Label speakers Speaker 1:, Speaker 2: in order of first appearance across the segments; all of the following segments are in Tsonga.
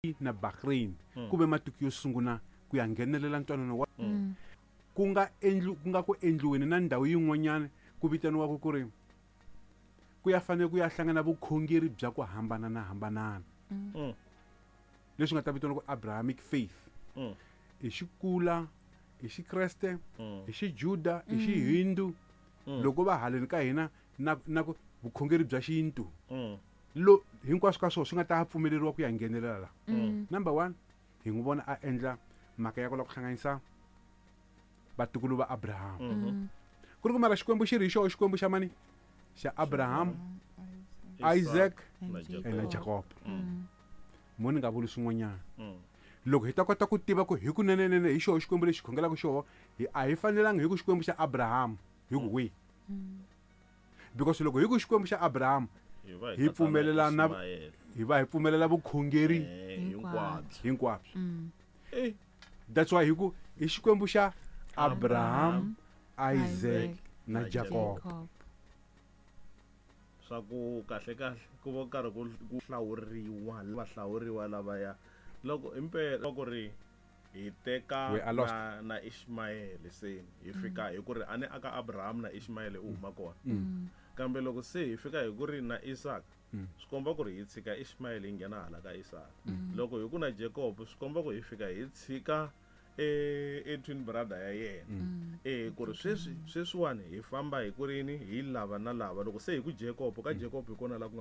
Speaker 1: Na Bahrain ku ve matiko yo sunguna ku ya nghenelela ntwanano wa ku nga endli ku nga ku endliweni na ndhawu yin'wanyana ku vitaniwaka ku ri ku ya fanele ku ya hlangana vukhongeri bya ku hambanana hambanana leswi nga ta vitaniwa ku Abrahamic faith. I xikula, i xikreste, i xijuda, i xihindu, loko va haleni ka hina na ku vukhongeri bya xintu. Lo hinkwaswo ka swona swi nga ta pfumeleriwa ku ya nghenelela la. Number one, hi n'wi vona a endla mhaka ya ku lava ku hlanganisa vatukulu va Abraham. Ku ri ku mara Xikwembu xi ri hi xoho Xikwembu xa mani? Xa Abraham, Isaac
Speaker 2: na
Speaker 1: na Jacob. Mo ni nga vuli swin'wanyana. Loko hi ta kota ku tiva ku hi kunenenene hi xoho Xikwembu lexi khongelaka xoho, a hi fanelanga hi ku Xikwembu xa Abraham hi ku wihi. Because loko hi ku Xikwembu xa Abraham,
Speaker 2: hi
Speaker 1: pfumelela na hi va hi pfumelela vukhongeri
Speaker 2: hinkwabyo.
Speaker 1: Hinkwabyo. That's why hi ku i Xikwembu xa Abraham, Isaac na Jacob.
Speaker 2: Swa ku kahle kahle ku va karhi ku hlawuriwa va hlawuriwa lavaya loko impela ku ri hi teka na Ishmael se hi fika hi ku ri ani aka Abraham na Ishmael u huma kona. Kambe loko se hi fika hi ku ri na Isaac, swi komba ku ri hi tshika Ishmael hi nghena hala ka Isaac. Loko hi ku na Jacob, swi komba ku hi fika hi tshika e twin brother ya yena. Ku ri sweswi sweswiwani hi famba hi ku rini hi lava na lava. Loko se hi ku Jacob, ka Jacob hi kona la ku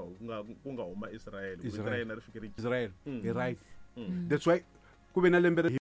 Speaker 2: nga huma Israel. Vito ra yena ri fike ri
Speaker 1: Israel. Hi right. That's why ku ve na lembe.